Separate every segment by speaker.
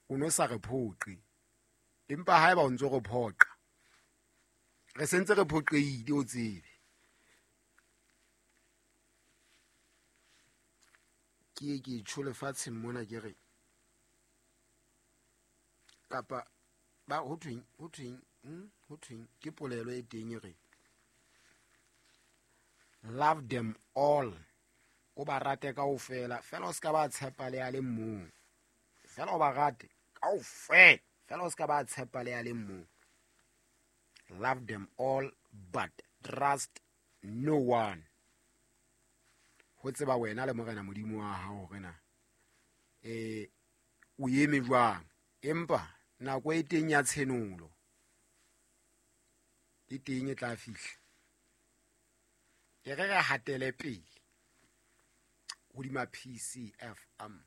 Speaker 1: O no sa re phoqe, empa haeba o ntso re phoqa, re sentse re phoqehile, o tsebe. Ke ye ke tjho lefatsheng mona ke re, kapa ba ho thweng, ho thweng, ho thweng, ke polelo e teng e re, love them all, o ba rate kaofela, fela o ska ba tshepa le a le mong. Fela o ba rate kaofela, fela o ska ba tshepa le a le mong. Love them all but trust no one. Ho tseba wena le Morena Modimo wa hao hore na, o eme jwang. Empa nako e teng ya tshenolo e teng e tla fihla. E re re hatele pele hodima PCFM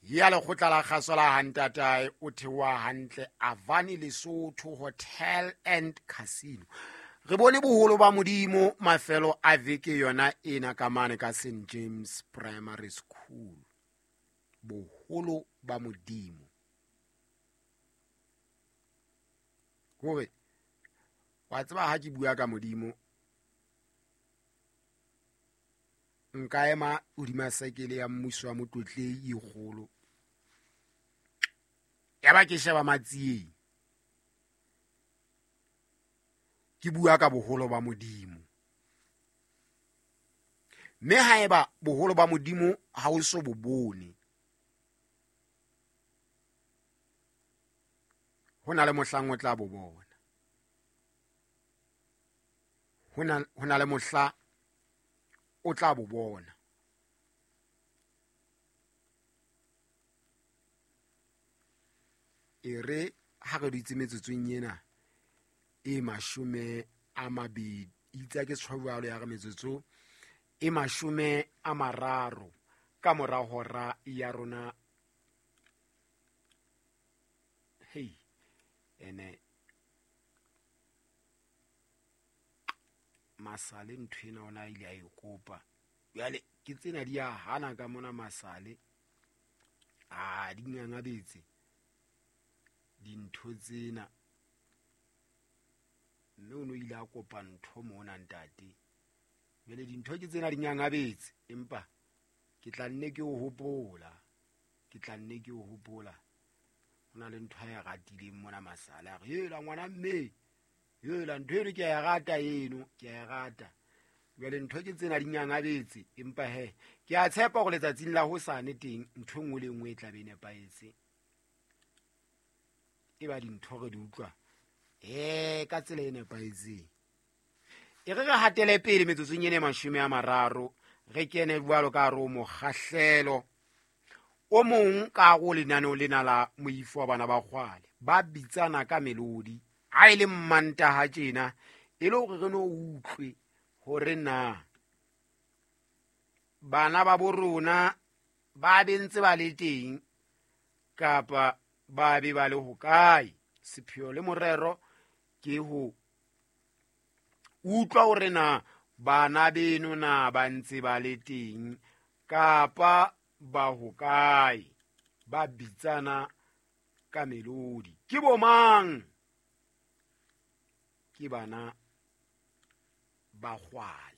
Speaker 1: ya lekgotla la kgaso la Hantatae, o theoha hantle Avani Lesotho Hotel and Casino. Re bone boholo ba Modimo mafelo a veke yona ena ka mane ka St James Primary School. Boholo ba Modimo. Hore wa tseba ha ke bua ka Modimo, nka ema hodima sekele ya mmuso wa Motlotlei e kgolo, ya ba ke sheba Matsieng, ke bua ka boholo ba Modimo. Mme haeba boholo ba Modimo ha o so bo bone, ho na le mohlang o tla bo bona. Ho na le mohla o tla bo bona. E re ha re dutse metsotsong ena e 20, itse ke tshwaro ya re metsotso e 30 ka mora hora ya rona. Hey, ene Masale ntho ena ona ile a e kopa. Jwale ke tsena di a hana ka mona Masale. A di ngangabetse dintho tsena. Mme o no ile a kopa ntho mona ntate. Jwale dintho ke tsena di ngangabetse, empa ke tla nne ke o hopola. Ke tla nne ke o hopola. Ho na le ntho a e ratileng mona Masale. A re, hela ngwana mme, hela ntho eno ke a e rata eno, ke a e rata. Jwale ntho ke tsena di ngangabetse, empa he ke a tshepa hore letsatsing la hosane teng ntho e nngwe le e nngwe e tla be e nepahetse. E ba dintho re di utlwa ka tsela e nepahetseng. E re re hatele pele metsotsong ena e 30, re kene jwalo ka hare ho mokgahlelo o mong ka hare ho lenaneo lena la Moifo wa Bana ba Kgwale. Ba bitsana ka melodi ha e le Mmantaha tjena, e le hore re no utlwe hore na bana ba bo rona ba be ntse ba le teng kapa ba be ba le hokae. Sepheo le morero ke ho utlwa hore na bana beno na ba ntse ba le teng kapa ba hokae. Ba bitsana ka melodi. Ke bo mang? Ke bana ba Kgwale.